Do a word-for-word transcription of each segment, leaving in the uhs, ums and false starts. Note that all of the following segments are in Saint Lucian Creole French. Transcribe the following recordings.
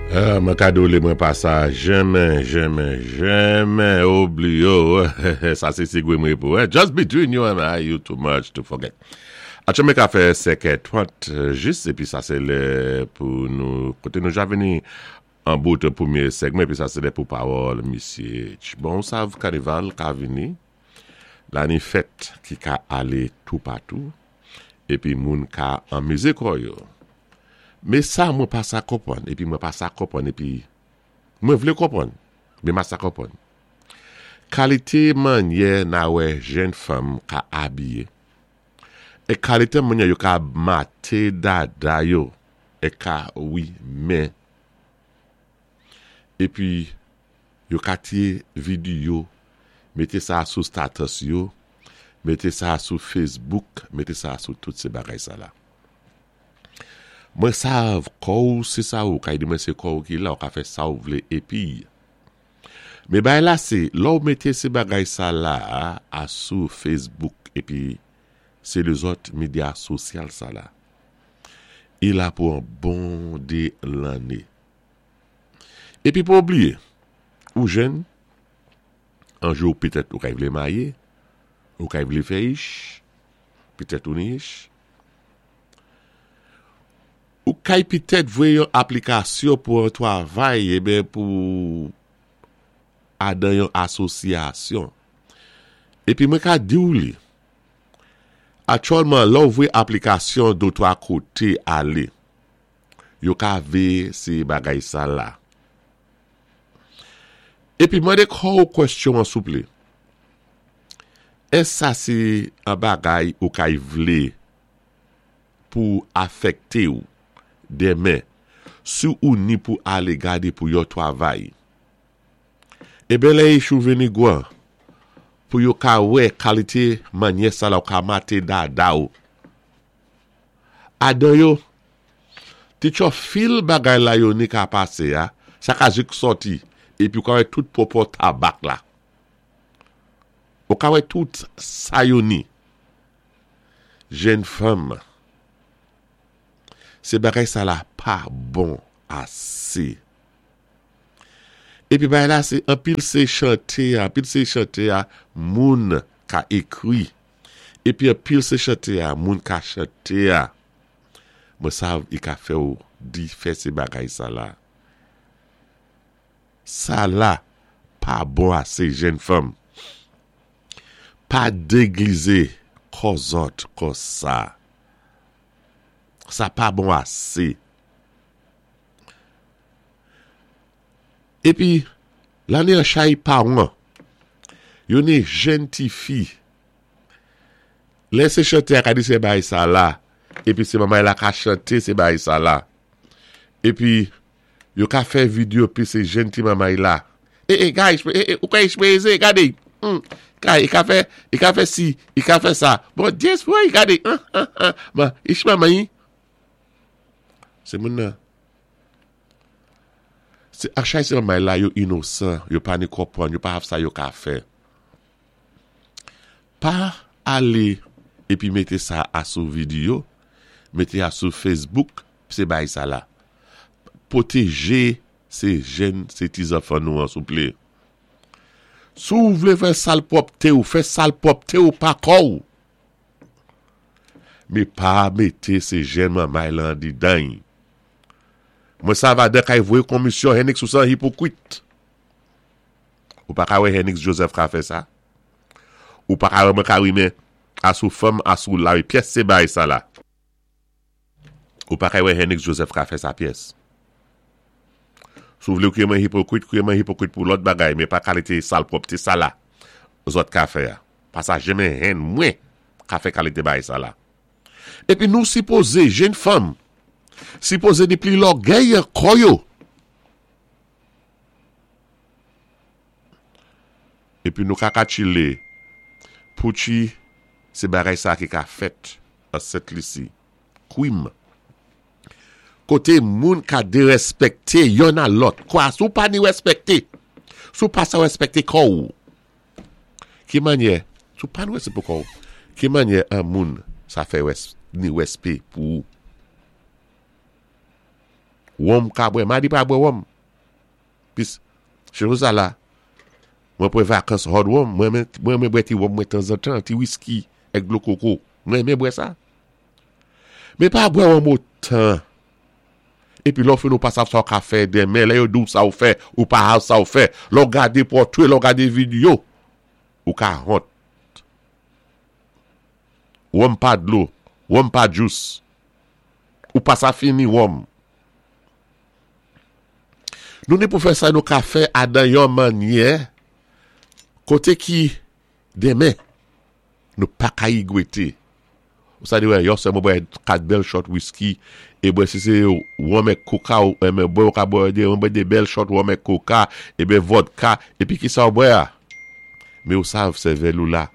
Mwen ka di ou mwen pa sa jenmen, jenmen, jenmen oubliyo. Sa sé sigwé mwen pou. Just between you and I, you too much to forget. Atchè mwen ka fè sèk trant jis, épi sa sé lè pou nou, koté nou ja vini an bout pwémyé segmen, épi sa sé lè pou pawòl misyé. Bon, sav kanival ka vini, la ni fèt ki ka alé toupatou, épi moun ka anmizé kò yo. Mé sa mwen pa sa konpwann, épi mwen pa sa konpwann, épi mwen vlé konpwann, mé ma sa konpwann. Kalité mannyè na wè jenn fanm ka abiyé, é kalité mannyè yo ka maté dada yo, é ka wi men, épi yo ka tiyé videyo, mété sa sou status yo, mété sa sou Facebook, mété sa sou tout sé bagay sa la. Mwen sav kò ou sé sa ou, kay di mwen sé kò ou ki la, ou ka fè sa ou vlé épi. Mé bay la sé, lò ou mété sé bagay sa la a sou Facebook épi sé lézòt medya sosyal sa la. I la pou an bon dé lanné. Épi pa oubliyé, ou jenn, an jou pétèt ou kay vlé maryé, ou kay vlé fè ich, pétèt ou ni ich. Ou kay pétèt voyé yon aplikasyon pou an twavay, ében pou adan yon asosyasyon. Épi mwen ka di ou li, aktyèlman lò ou voyé aplikasyon dé twa koté alé, yo ka véyé sé bagay sa la. Épi mandé kò ou kwèstyon an souplé. Ès sa sé an bagay ou kay vlé pou afèkté ou denmen, si ou ni pou alé gadé pou yon twavay. Eben lè ich ou vini gwan, pou yo ka wè kalité mannyè sa la ou ka maté dada ou. Adan yo, ti tcho fil bagay la yo ni ka pasé ya, sa ka zik sòti, épi ou ka wè tout pwopò tabak la. Ou ka wè tout sa yo ni. Jenn fanm, sé bagay sa la pa bon asé. Épi bagay la sé anpil sé chanté, anpil sé chanté a moun ka ékri. Épi anpil sé chanté a moun ka chanté a. Mwen sav i ka fè ou di fè sé bagay sa la. Sa la pa bon asé jenn fanm. Pa déglizé kò zòt kon sa. Sa pa bon asé. Épi, la ni an chay pawan, yo ni jenn ti fi. Lè sé chanté a ka di sé bagay sa la, épi sé manmay la ka chanté sé bagay sa la. Épi, yo ka fè videyo pi sé jenn ti manmay la. Eh, eh, guys, eh, eh, ou ka eksprezé, gadé. Hmm, kay, i ka fè, i ka fè si, i ka fè sa. Bon, yes, woy, gadé. Ah, ah, ah. Ma, ich manmay. Sé moun nan. Sé ak chay sé manmay la yo inosan, yo pa ni konpwann, yo pa hav sa yo ka fè. Pa alé épi mété sa a sou videyo, mété a sou Facebook, sé bay sa la. Pwotéjé sé jenn, sé ti zanfan nou an souplé. Si ou vlé fè salpwòpté ou, fè salpwòpté ou pa kò ou. Mé pa mété sé jenn manmay lan didan. Mwen sav adan kay voyé komisyon Henix ou san hipokrit. Ou pa ka wè Henix Joseph ka fè sa? Ou pa ka wè mwen ka wimen asou fanm asou la pyès sé bay sa la. Ou pa ka wè Henix Joseph ka fè sa pyès. Si ou vlé ou mwen hipokrit, kwié mwen hipokrit pou lòt bagay, mé pa kalité salpwòpté sa la. Zòt ka fè ya. Pa sa jenmen hen mwen ka fè kalité bay sa la. Épi nou sipozé, jenn fanm, sipozé ni pli lògèy kò yo. Épi nou ka ka chilé, pou chi, sé bagay sa ki ka fèt an Sent Lisi. Kwim. Koté moun ka dérèspèkté yonn a lòt. Kwa, si ou pa ni rèspèkté, si ou pa sa rèspèkté kò ou. Ki mannyè, si ou pa ni rèspè pou kò ou, ki mannyè an moun sa fè ni rèspè pou ou. Wonm ka bwè. Ma di pa bwè wonm. Pis, chè sa la, mwen pwè vakans hòd wonm, mwen mwen bwè ti wonm mwen tanzantan, ti whisky, èk dlo koko. Mwen mwen bwè sa. Mé pa bwè wonm otan. Épi lè ou fini ou pa sav sa ou ka fè denmen, lè yo di ou sa ou fè, ou pa hav sa ou fè. Lè ou gadé pòtwé, lè ou gadé vidéo, ou ka wont. Wonm pa dlo, wonm pa juice. Ou pa sa fini wonm. Nou ni pou fè sa nou ka fè adan yon mannyè, koté ki denmen, nou pa ka igwété. Ou sa di wè, yon sè mwen bwè kat bèl shot whisky, é bwè si sé wonm èk koka ou, é mwen bwè ou ka bwè de, mwen bwè de bèl shot wonm èk koka, é ben vodka, épi ki sa ou bwè a? Mé ou sav sèvèl ou la.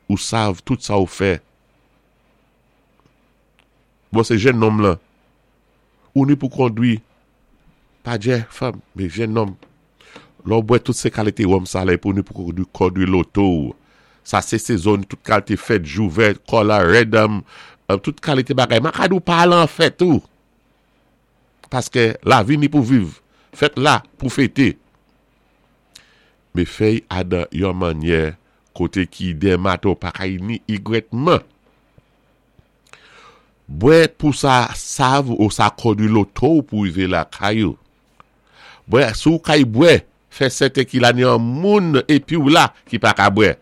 Ou sav tout sa ou fè. Bon, sé jenn nonm lan. Ou ni pou kondwi, pa djè fanm, mé jenn nonm. Lè ou bwè tout sé kalité wonm sa la, pou ni pou kondwi, kondwi loto ou. Sa sé sezon, tout kalité fèt, jou vèt, kola, redam, tout kalité bagay. Ma ka di ou pa al an fèt ou. Paské lavi ni pou viv. Fèt la pou fété. Mé fè-y adan yon mannyè koté ki denmen maten ou pa kay ni igwètman. Bwè pou sa sav ou sa kondwi loto ou pou rivé lakay ou. Bwè, sou kay bwè, fè sèten ki la ni an moun épi ou la ki pa ka bwè.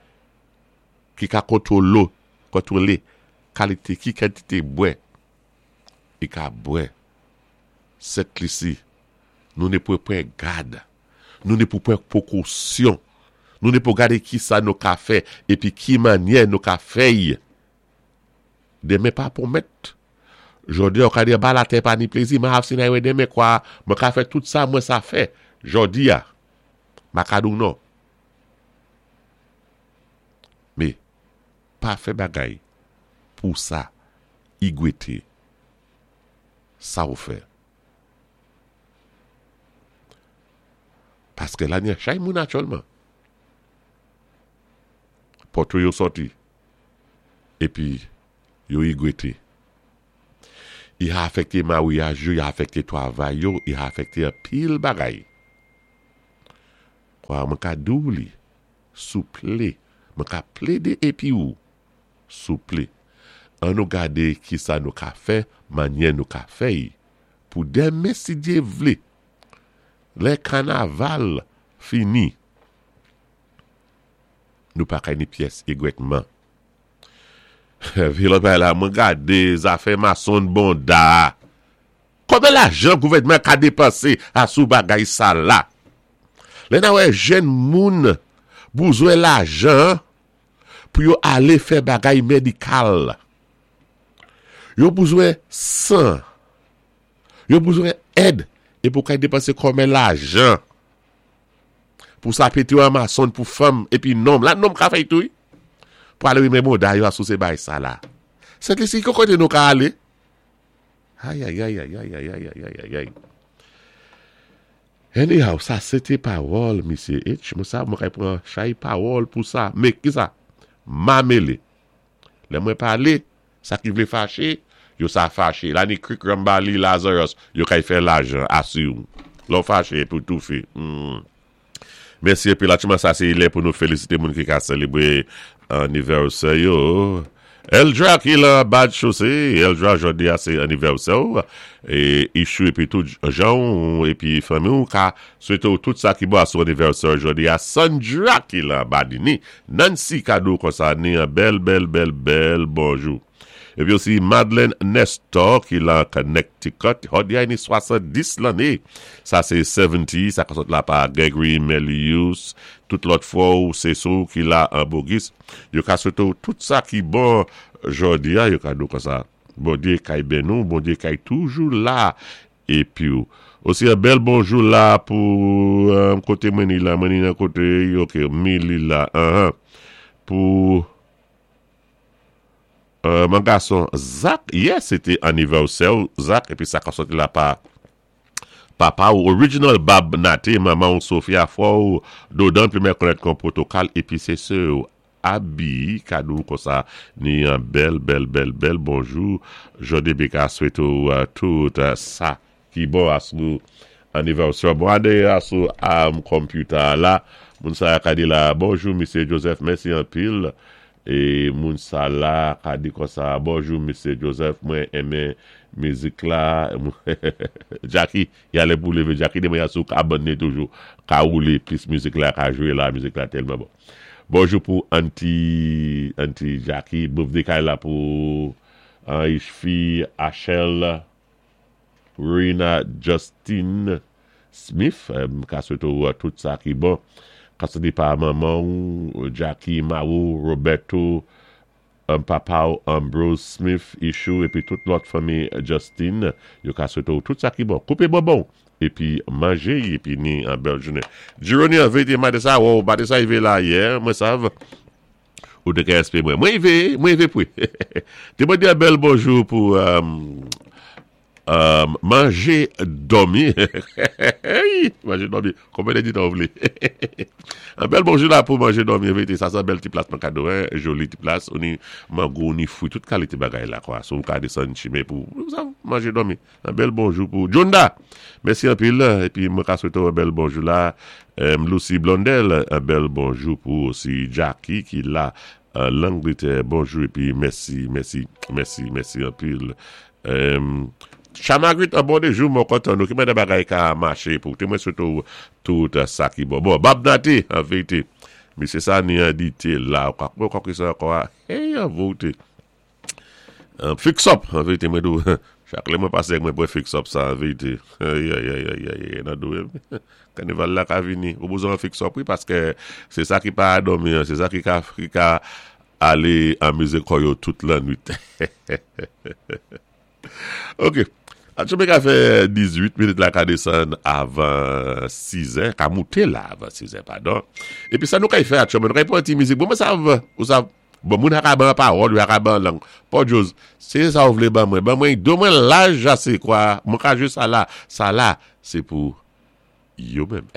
Ki ka kontwolo, kontwolé kalité ki kantité bwè. I ka bwè. Sent Lisi, nou ni pou pran gad. Nou ni pou pran pwékosyon. Nou ni pou gadé ki sa nou ka fè épi ki mannyè nou ka fè-y. Denmen pa pwomèt. Jòdi a ou ka di ba latè pa ni plézi, ma hav sinay wè denmen kwa, mwen ka fè tout sa mwen sa fè. Jòdi a, ma ka di ou non. Mé, pa fè bagay pou sa igwété sa ou fè. Paské la ni chay moun aktyèlman. Pòtwé yo sòti. Épi yo igwété. I a afèkté maryaj yo, i a afèkté twavay yo, i a afèkté anpil bagay. Kwa mwen ka di ou li, souplé, mwen ka plédé épi ou, souplé. An nou gadé ki sa nou ka fè, mannyè nou ka fè-y, pou denmen si Dyé vlé. Lè kanaval fini, nou pa kay ni pyès igwètman. Vi lòt bagay la, mwen gadé zafè mason bonda. Konbyen lajan gouvèdman ka dépansé asou bagay sa la? Lè nan wè jenn moun bouzwen lajan pou yo alé fè bagay médikal. Yo bouzwen san. Yo bouzwen èd é pou kay dépansé konbyen lajan. Pou sa pété yo mason pou fanm épi nonm. La nonm ka fè tou. Pou alé rimen bonda yo asou sé bay sa la. Sent Lisi, ki koté nou ka alé? Ay, ay, ay, ay, ay, ay, ay, ay, ay, ay. Anyhow, sa sété pawòl, Misye H. Mwen sa, mwen kay pran chay pawòl pou sa. Mé, ki sa? Ma mélé. Lè mwen palé, sa ki vlé faché, yo sa faché. La ni Krik Rambali Lazarus, yo kay fè lajan, asou. Lò faché pou toufi. Hmm. Mèsi épi la tchouman sa sé lè pou nou félisité moun ki ka sélébré anivèsè yo. Eldra ki la bad chosé, Eldra jòdi a sé anivèsè ou. É Ichou épi tout jan épi fanmi ou ka swété ou tout sa ki bon asou anivèsè jòdi a. Sandra ki la Badini, Nancy ka di ou konsa ni yon bèl bèl bèl bèl bonjou. Épi osi Madeleine Nestor ki la Connecticut, jòdi a ni swasanndis lanné. Sa sé seventy, sa ka sot la pa Gregory Melius, tout lòt fwa ou sé sou ki la an Bogis. Yo ka swété ou tout sa ki bon jòdi a, yo ka di ou konsa. Bondyé kay béni nou, Bondyé kay toujou la. Épi ou. Osi yon bèl bonjou la pou euh, koté mwen ni la, mwen ni nan koté, ok, mi li la, uh -huh. Pou euh, mon gason Zach, yes, sété anivèsè Zach, épi sa ka sòti la pa papa ou original Bab Nate, manman ou Sophia frè ou Dodan, pi mwen konnèt kon protokal, épi sé sè ou Abi, ka di ou konsa, ni yon bèl, bèl, bèl, bèl bonjou. Jòdi ka swété ou uh, tout uh, sa Ki bon asou anniversaire. Bon, adé asou am computer la. Moun sa ka di la, bonjou, Misye Joseph, mèsi anpil. É moun sa la ka di konsa, bonjou, Misye Joseph, mwen enmen mizik la. Jackie, yalé pou lévé. Jackie di mwen asou ka abonné toujou. Ka woulé, plis mizik la ka jwé la, mizik la tèlman bon. Bonjou pou Auntie, Auntie Jackie, birthday kay la pou Ishfi, Achel, Rina, Justin Smith, ka swété ou tout sa ki bon. Ka swété pa manman, Jackie, Maou, Roberto, papa ou Ambrose Smith, Ishu, épi tout lòt fanmi Justin, yo ka swété ou tout sa ki bon. Koupé bonbon, épi manjé, épi ni an bèl jounen. Jeroni an vérité, maten sa, ou maten sa ivé la yè, mwen sav, ou de ka espé mwen. Mwen ivé, mwen ivé pwi. Té mwen di an bèl bonjou pou Um, manjé, dòmi. Manjé, dòmi. Konbyen di ou vlé? An bèl bonjou la pou manjé, dòmi. En vérité, sa sé bèl ti plas nan kado, hein? Joli ti plas. Ou ni mango, ou ni fwi, tout kalité bagay la, kwa. So, ou ka désann chimen pou sa, manjé, dòmi. An bèl bonjou pou Jonda. Mèsi anpil. Épi, mwen ka swété an bèl bonjou la. Um, Lucy Blondel, an bèl bonjou pou osi Jackie ki la euh, Langletè. Bonjou épi mèsi, mèsi, mèsi, mèsi anpil. Um, Chamagrit, an bon déjou, mwen kontan nou, ki mwen de bagay ka maché pou, té mwen swété tout sa ki bon. Bon, Bob Nati, an vérité, misye sa ni an di té la, kwa kwa kwa ki sa kwa, hey, an vérité. Fix up, an vérité, mwen dou, chak lè mwen pasé mwen pran fix up sa, an vérité. Ay, ay, ay, ay, ay, nan dou, kanival la ka vini, ou bezwen fix up, wi, paské sé sa ki pa dòmi, sé sa ki ka, ki ka alé anmizé kò yo tout lannwit. Ok. Atchoume ka fè dizuit minit la ka désann avan siz è, ka mouté la avan siz è, padon. Épi sa nou kay fè atchoume, nou kay pran ti mizik. Bon, mwen sav, ou sav, bon, moun ka ban pawòl, ou ka ban lang. Pa Joz, sé sa ou vlé ban mwen, ban mwen, do mwen laj ase, kwa, mwen ka jwé sa la, sa la, sé pou yo menm.